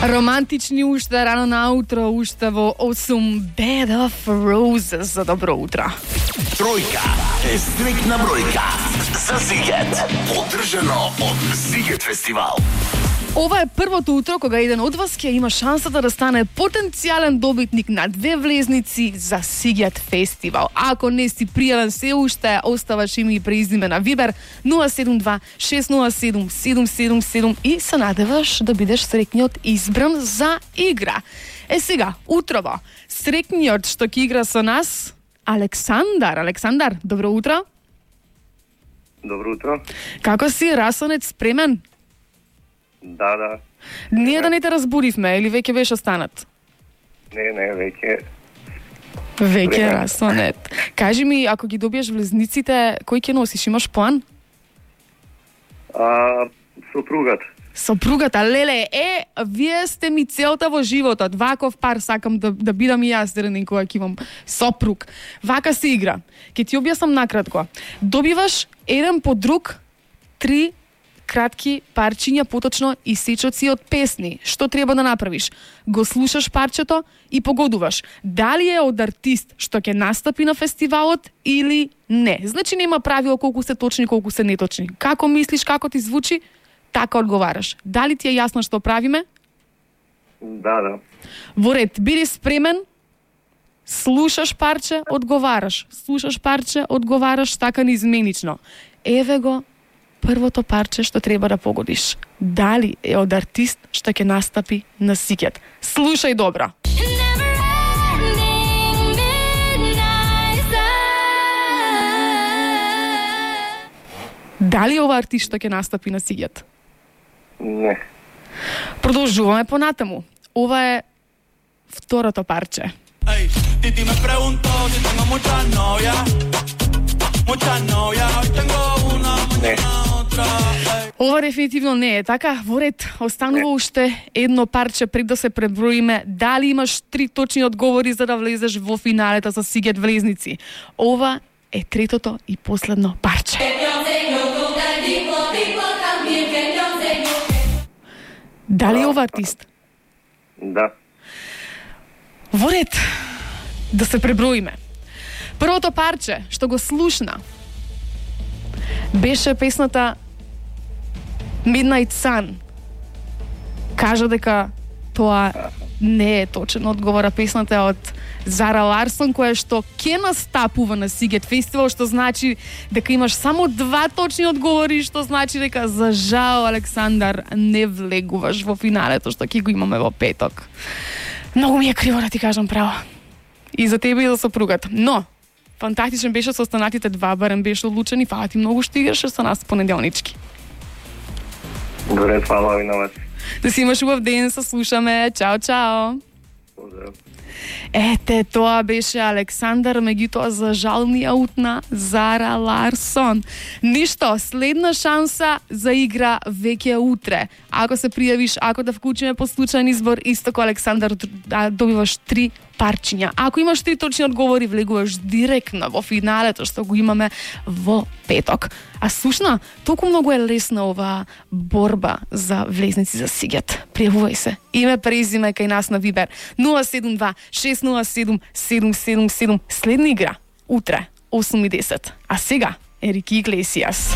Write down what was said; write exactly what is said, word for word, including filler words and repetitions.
Романтични уште рано наутро, уште во осум Bed of Roses за добро утро. Тројка е стрикна бројка за Сигет, поддржано од Сигет фестивал. Ова е првото утро кога еден од вас ќе има шансата да стане потенцијален добитник на две влезници за Сигет фестивал. Ако не си пријавен се уште, оставаш име и презиме на Вибер нула седум два шест нула седум седум седум седум и се надеваш да бидеш среќниот избран за игра. Е сега, утрово, среќниот што ќе игра со нас Александар. Александар, добро утро. Добро утро. Како си, расонет, спремен? Да, да. Ние да не те разбудивме или веќе беше станат? Не, не, веќе. Веќе е расонет. Кажи ми, ако ги добиеш влезниците, кој ќе носиш? Имаш план? А, сопругат. Сопругата, леле, е, вие сте ми целта во животот. Ваков пар сакам да, да бидам и јас ден кога ќе имам сопруг. Вака се игра. Ке ти објаснам накратко. Добиваш еден по друг три кратки парчиња, поточно и сечоци од песни. Што треба да направиш? Го слушаш парчето и погодуваш дали е од артист што ќе настапи на фестивалот или не. Значи нема правило колку се точни, колку се неточни. Како мислиш, како ти звучи, така одговараш. Дали ти е јасно што правиме? Да, да. Во ред, биди спремен. Слушаш парче, одговараш. Слушаш парче, одговараш, така неизменично. Еве го првото парче што треба да погодиш. Дали е од артист што ќе настапи на Сигет. Слушај добро. Дали е ова артист што ќе настапи на Сигет? Не. Продолжуваме понатаму. Ова е второто парче. Ey, Titi me preguntó si tengo muchas novias, muchas novias, hoy tengo una, mañana otra. Ey. Ова дефинитивно не е така. Во ред, останува уште едно парче пред да се преброиме. Дали имаш три точни одговори за да влезеш во финалето за Сигет влезници? Ова е третото и последно парче. Дали е ова артист? Да. Во ред, да се преброиме. Првото парче што го слушна беше песната Midnight Sun. Кажа дека тоа не е точен одговор, а песната е од Зара Ларсон, која што ќе настапува на Сигет фестивал, што значи дека имаш само два точни одговори, што значи дека за жал, Александар, не влегуваш во финалето што ќе го имаме во петок. Многу ми е криво да ти кажам право. И за тебе и за сопругата. Но, фантастичен беше со останатите два, барем беше одлучен и фала ти многу што играше со нас понеделнички. Добре, фала ви на вас. Да си имаш убав ден, се слушаме. Чао, чао. Поздрав. Ете, тоа беше Александар, меѓутоа за жал ни аутна Зара Ларсон. Ништо, следна шанса за игра веќе утре. Ако се пријавиш, ако да вклучиме по случајен избор, исто ко Александар, да добиваш три парчиња. Ако имаш три точни одговори, влегуваш директно во финалето што го имаме во петок. А слушна, толку многу е лесна ова борба за влезници за Сигет. Пријавувај се. Име, презиме кај нас на Вибер нула седум два шест нула седум седум седум седум. Следна игра утре осум и десет. А сега Ерики Иглесијас.